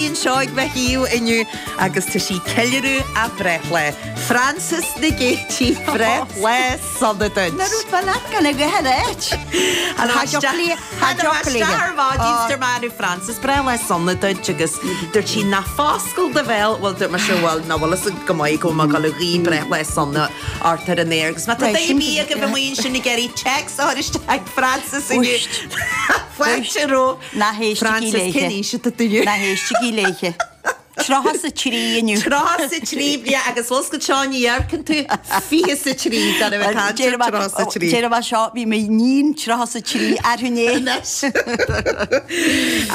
Anseo ag mo thaobh inniu agus tá sí ag ceiliúradh a breithlá. Frances Nic Géidigh, breithlá sona duit. Ná raibh fá leat gan a ghaoth ar áit. Tha isteach ar maidin 's dúirt mé arú Frances, breithlá sona duit agus dúirt sí ná foscail do bhéal, bhuel dúirt mise bhuel ná bhfuil fhios agat go maith go bhfuil mé ag dul a ghuí breithlá sona ort ar an aer agus má tá duine ar bith agaibh amuigh ansin ag iarraidh téacs a chur isteach ag Frances inniu. Fáilte romhaibh. Ná héistigí Frances, léithe. cén aois atá tú inniu? Ná héistigí léithe. 33 inniu. 33 bliain agus bhfuil 's agat seo ní amharcann tú 23 gan a bheith ag caint ar 33. Déarfaidh mé seo, bhí m'iníon 33 arú inné. Anois.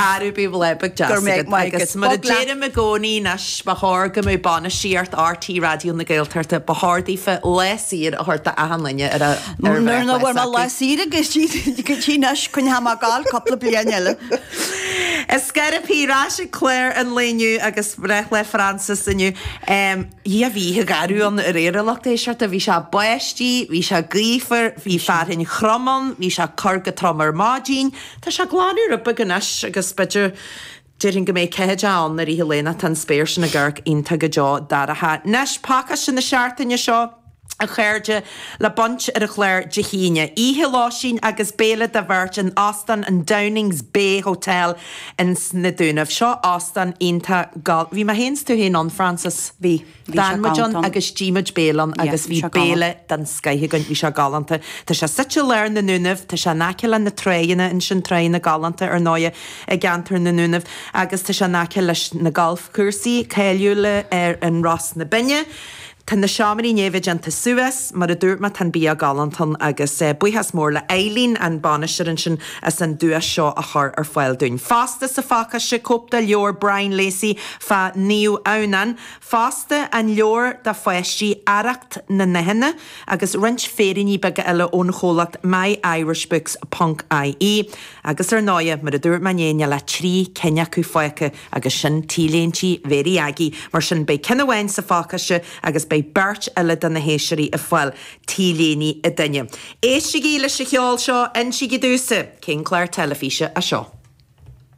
Arú bíodh lá beag deas Go raibh agat maith agat. agus mar a Bog leat. deirim i gcónaí anois ba chóir go mbeadh bainistíocht RTÉ Raidió na Gaeltachta ba chóir daofa lá saor a thabhairt d'achan duine ar a Nuair nach bhfuair mé lá saoire go dtí anois, coinneoidh mé ag gabháil cúpla bliain eile. Is scairpí ar ais ag clár an lae inniu agus breithlá Frances inniu. Dhia bhí oíche gharbh ann aréir a lucht éisteachta. Bhí sé báistí, bhí sé gaofar, bhí fearthainn throm ann, bhí sé ag cur go trom ar maidin. Tá sé ag glanadh rud beag anois agus b'fhéidir Déarfainn go mbeidh ceathair ann i rith an lae nó tá an spéir sin ag amharc iontach go deo dorcha. Anois, pacáiste na seachtaine seo, a chairde, le baint ar an chlár Dé hAoine. Oíche lóistín agus béile do bheirt in Óstán an Downings Bay Hotel ins na Dúnaibh. Seo óstán iontach gal. Bhí mé féin 's tú féin ann, Frances. Bhí. Bhí sé D'fhan muid ann galánta. agus d'ith muid béile ann Yeah, agus bhí bhí sé béile galánta. den scoith againn. Bhí sé galánta. Tá sé suite i lár na nDúnaibh, tá sé in aice le na tráigheanna ansin, tráigheanna galánta ar ndóighe i gceantar na nDúnaibh agus tá sé in aice leis na galfchúrsaí cáiliúla ar an Ros na Binne. Tá na seomraí i ndiaidh a bheith déanta suas, mar a dúirt mé tá an bia galánta ann agus buíochas mór le Eileen, an bainisteoir ansin, as an duais seo a chur ar fáil dúinn. Fosta sa phacáiste, cóip de leabhar Brian Lacey fá Naomh Adhamhnán, Fosta, an leabhar do pháistí Arracht na nDathanna agus roinnt féiríní beaga eile ón chomhlacht myirishbooks ponc ie. Agus ar ndóighe, mar a dúirt mé inné, níl ach 3 cinn acu fágtha agus sin T-léintí Mhéirí Aggie. Mar sin, beidh ceann amháin sa phacáiste agus beidh beirt eile de na héisteoirí ag fáil T-léine an duine. Éistigí leis an cheol seo, insígí domhsa cén clár teilifíse é seo.